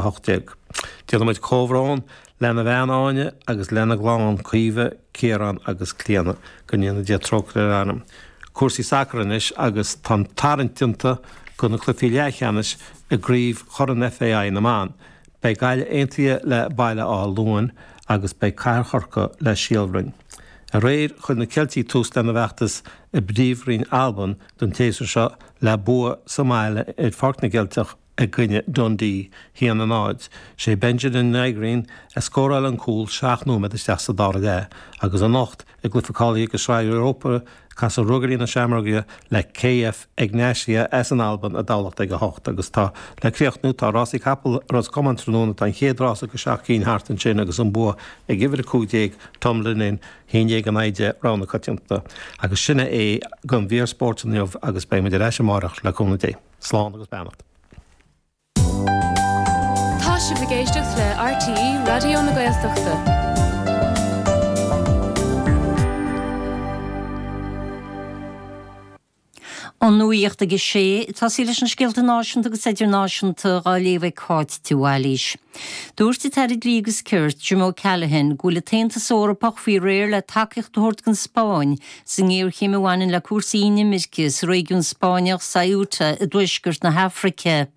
18. Déanaimid comhbhrón lena bhean Áine agus lena gclann Caoimhe, Ciarán agus Clíona. Go ndéana Dia trócaire ar a anam. Cúrsaí sacair anois agus tá an tarraingt déanta do na cluichí leathcheannais i gCraobh Chorn FAI na mBan. Beidh Gaillimh aontaithe le Baile Átha Luain agus beidh Cathair Chorcaí le Síol Bhroin. Aréir chuir na Ceiltigh tús lena bhfeachtas i bPríomhroinn Alban don tséasúr seo le bua sa mbaile ar Pháirc na gCeilteach i gcoinne Dundee, 1-0. Sé Benjamin Nygren a scóráil an cúl 7 nóiméad isteach sa dara leath agus anocht i gcluiche cáilithe do Shraith Europa casfaidh Ruagairí na Seamróige le KF Egnatia as an Albain i dTamhlacht ag 8 agus tá le críochnú tá rásaí capall Ros Comáin tráthnóna tá an chéad rása go 7 cinn thart ansin agus an bua ag uimhir 15 Tumblin In 11 in aghaidh 10 rogha na coitiantachta agus sin é don mhír spóirt inniu agus beidh muid ar ais amárach le cúnamh Dé. Slán agus beannacht. Tá sibh ag éisteacht le RTÉ Raidió na Gaeltachta. An nuacht ag a sé, ag tosaí leis na scéalta náisiúnta agus idirnáisiúnta dhá léamh ag Cáit de Bhailís. Dúirt an tAire Dlí agus Cirt, Jim O'Callaghan, go bhfuil an tAontas Eorpach faoi réir le tacaíocht a thabhairt don Spáinn sa ngéarchéim a bhaineann le cúrsaí inimirce sa réigiún Spáinneach Ceuta i dtuaisceart na hAfraice.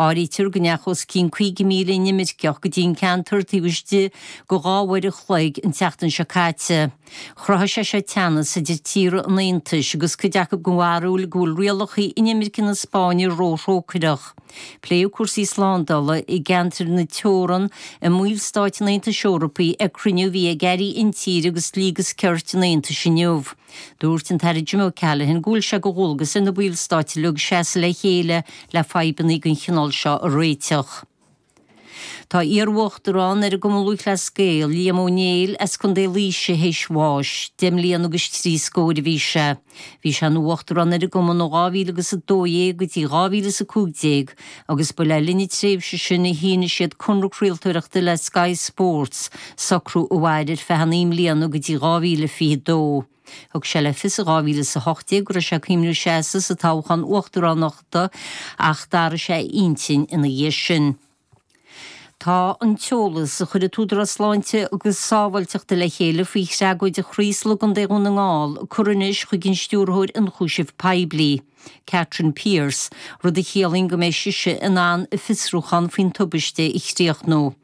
Áirítear go ndeachaigh os cionn 50,000 inimirceach go dtí an ceantar taobh istigh de dhá uair an chloig an tseachtain seo caite. Chruthaigh sé seo teannas idir tíortha an Aontais agus cuid acu den bharúil go bhfuil rialacha inimirce na Spáinne róthrócaireach. Pléadh cúrsaí slándála i gceantair na teorann i mballstáit an Aontais Eorpaigh ag cruinniú a bhí ag airí intíre agus dlí agus cirt an Aontais inniu. Dúirt an tAire Jim O'Callaghan go bhfuil sé de dhualgas ar na ballstáit uilig seasamh le chéile le fadhbanna den chineál seo a réiteach. Tá iar-uachtarán ar an gCumann Lúthchleas Gael, Liam Ó Néill as Contae Laoise théis bháis. Deich mbliana agus trí scóir a bhí sé. Bhí sé ina uachtarán ar an gcumann ó 2012 go dtí 2015 agus ba le linn na tréimhse sin a shínigh siad conradh craoltóireachta le Sky Sports, socrú a mhair ar feadh naoi mbliana go dtí 2022. Thug sé le fios i 2018 go raibh sé ag cuimhneamh seasamh sa toghchán uachtaránachta ach d'athraigh sé a intinn ina dhiaidh sin. Tá an t-eolas a chuir an tÚdarás Sláinte agus Sábháilteachta le chéile faoi thragóid an Chraoslaigh i gContae Dhún na nGall curtha anois chuig an Stiúrthóir Ionchúiseamh Poiblí, Catherine Pierce, rud a chiallaíonn go mbeidh sise in ann a fiosrúchán faoin tubaiste a chríochnú.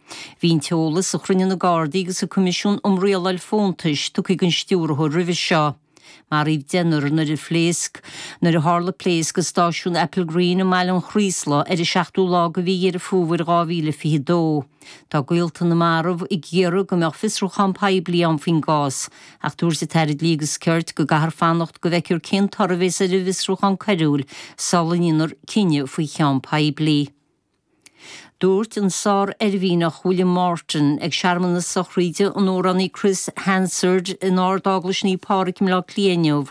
Bhí an t-eolas a chruinnigh na Gardaí agus an Coimisiún um Rialáil Fóntais tugtha don Stiúrthóir roimhe seo. Maraíodh deichniúr nuair a phléasc nuair a tharla pléasc i stáisiún Applegreen i mBaile an Chraoslaigh ar an seachtú lá de mhí Dheireadh Fómhair 2022. Tá gaolta na marbh ag iarraidh go mbeadh fiosrúchán poiblí ann faoin gcás ach dúirt an tAire Dlí agus Cirt go gcaithfear fanacht go bhfeicfear cén toradh a bheas ar an bhfiosrúchán coiriúil sula ndéanfar cinneadh faoi cheann poiblí. Dúirt an sár-oirmhinneach William Morton ag searmanas sochraíde an amhránaí Chris Hansard in Ard-Eaglais Naomh Pádraig i mBleá Cliath inniu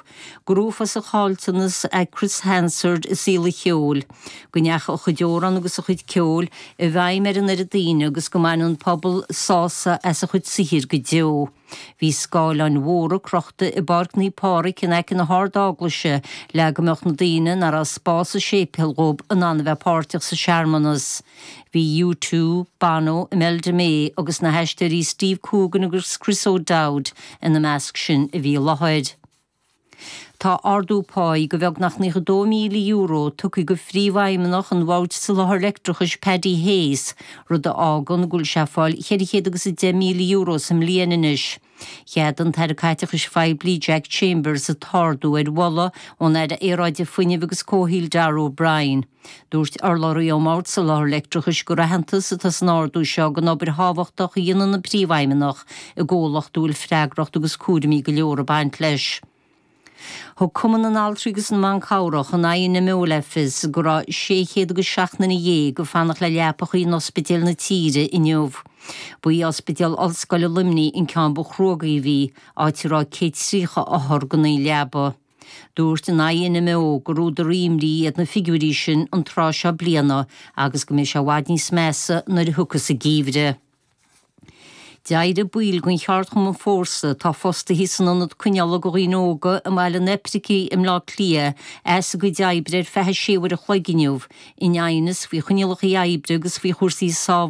gur uafásach an caillteanas é Chris Hansard i saol an cheoil, go ndeachaigh a chuid amhrán agus a chuid ceoil i bhfeidhm ar an oiread daoine agus go mbaineann an pobal sásamh as a chuid saothair go deo. Bhí scáileáin mhóra crochta i bPáirc Naomh Pádraig in aice na hArd-Eaglaise le go mbeadh na daoine nach raibh spás sa séipéal dhób in ann a bheith páirteach sa searmanas. Bhí U2, Bono, Imelda May agus na haisteoirí Steve Coogan agus Chris O'Dowd ina measc sin a bhí i láthair. Tá ardú páí de bheagnach €92,000 tugtha do phríomhfheidhmeannach an Bhoird Soláthair Leictreachais Paddy Hayes, rud a fhágann go bhfuil sé ag fáil €410,000 sa mbliain anois. Cheadaigh an tAire Caiteachais Phoiblí Jack Chambers an t-ardú ar mholadh ón Aire Aeráide Fuinnimh agus Comhshaoil Darragh O'Brien. Dúirt urlabhraí ón mBord Soláthair Leictreachais gur aitheantas atá san ardú seo don obair thábhachtach a dhéanann an Príomhfheidhmeannach i gcomhlacht a bhfuil freagracht agus cúraimí go leor ag baint leis. Thug Cumann na nAltraí agus na mBan Cabhrach, an INMO, le fios go raibh 600 agus 7 nduine ag fanacht le leapacha in ospidéil na tíre inniu. Ba í Ospidéal Ollscoile Luimnigh an ceann ba chruógaí a bhí, áit a raibh 130 othar gan aon leaba. Dúirt an INMO gur údar imní iad na figiúirí sin an tráth seo bliana agus go mbeidh sé i bhfad níos measa nuair a thiocfas an geimhreadh. D'éirigh baill den cheardchumann Fórsa, atá fostaithe san ionad coinneála do dhaoine óga i mBaile an Oipricigh i mBleá Cliath, as a gcuid oibre ar feadh 6 uair a chloig inniu, in aighneas faoi choinníollacha oibre agus faoi chúrsaí sábháilteachta.